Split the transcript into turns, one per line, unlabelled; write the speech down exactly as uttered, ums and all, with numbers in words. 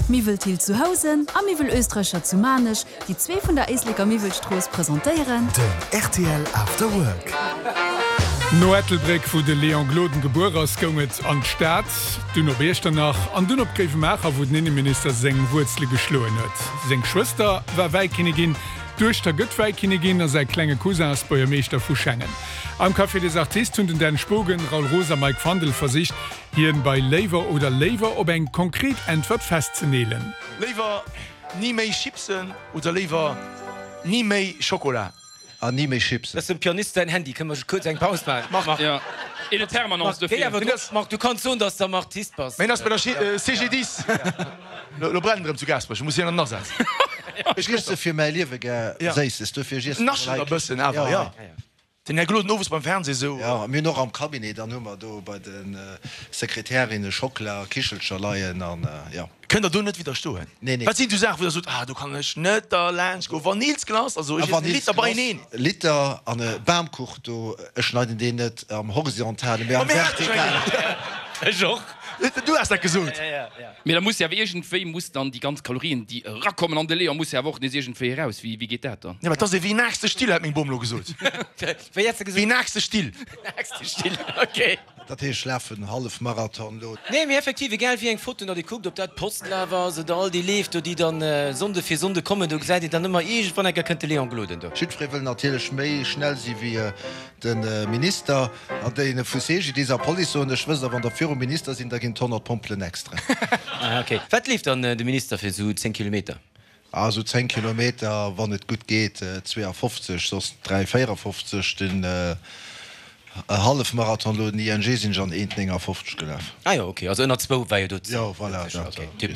Miwwel Thill zu Housen a Miwwel Österreicher zu Maarnech, déi zwee vun der Éisleker Miwwelstrooss, presentéieren.
Den rtl After Work.
No Ettelbréck, wou de Léon Gloden gebuer ass, goung et an d'Stad, dunn op Iechternach an dunn op Gréiwemaacher, wou den Inneminister seng Wuerzele geschloen huet. Seng Schwëster war Wäikinnigin, d'Duechter gëtt Wäikinnigin a säi klenge Cousin ass Buergermeeschter vu Schengen. Am Café des Artistes hunn den Dan Spogen, Raoul Roos a Mike Fandel versicht, hien bei Léiwer oder Léiwer op eng konkret Äntwert festzeneelen.
Léiwer ni méi Chipsen oder léiwer ni méi Schokola?
Ah, ni méi Chipsen.
Dat ass dem Pianist säin Handy. Kënne mer kuerz eng Paus maachen?
Marc.
Jo, une permanence
Marc, géi
dofir.
awer drop. Marc, du kanns soen, dass de am Artist bass.
Mä hien ass bei der CGDIS. Lo brennt erëm zu Gaasperech, muss hien an den Asaz.
Ech iesse fir mäi Liewe gär Séisses, dofir ech iessen
Naschen e bëssen awer, jo. Den Här Gloden owes beim Fernseh esou.
Jo, mir hunn och am Cabinet, dann hu mer do bei de Sekretärinne Schockela a Kichelcher leien an jo.
Kënnt der do net widderstoen?
Nee, nee.
Wat sinn esou Saachen, wou der sot, ah do kann ech net derlaanscht goen? Vanillsglace, also ech iessen e Liter beieneen.
Liter an e Bamkuch do, ech schneiden deen net am Horizontalen, mee am Vertikalen.
Ech och.
Du has dat gesot.
Mee da muss jo awer iergendwéi muss dann déi ganz Kalorien déi erakommen an de Leon muss jo awer och nees iergendwéi eraus. Wéi wéi geet dat dann?
Jo, mä et ass ee wéi naachste Still, hat meng Bom lo gesot.
Wéi hätt se gesot?
Wéi naachste Still.
Naachste Still, ok.
Dat heescht, ech lafen en Hallefmarathon lo.
Nee, mee effektiv, egal wéi eng Foto datt ee kuckt, ob dat d'Postlaf ass oder all déi Leef do, déi dann Sonnde fir Sonnde kommen, do gesäit een dann ëmmer, iergendwann eng Kéier kënnt de Léon Gloden do.
Jiddweree wëll natierlech méi schnell si wéi De Minister an déi vu CGDIS a Police soen, ech wësst der, wann der virum Minister sinn, da ginn et honnert Pompelen extra.
Ah ok. Wat leeft dann de Minister fir esou zéng Kilometer?
Ah esou zéng Kilometer, wann et gutt geet zweeafofzeg, soss dräi véierafofzeg. Den Hallefmarathon elo, den I N G, sinn ech an eent néngafofzeg gelaf.
Ah jo ok, also ënner zwou war jo do d'Zil.
Jo voilà, dat.
Ok, tiptop.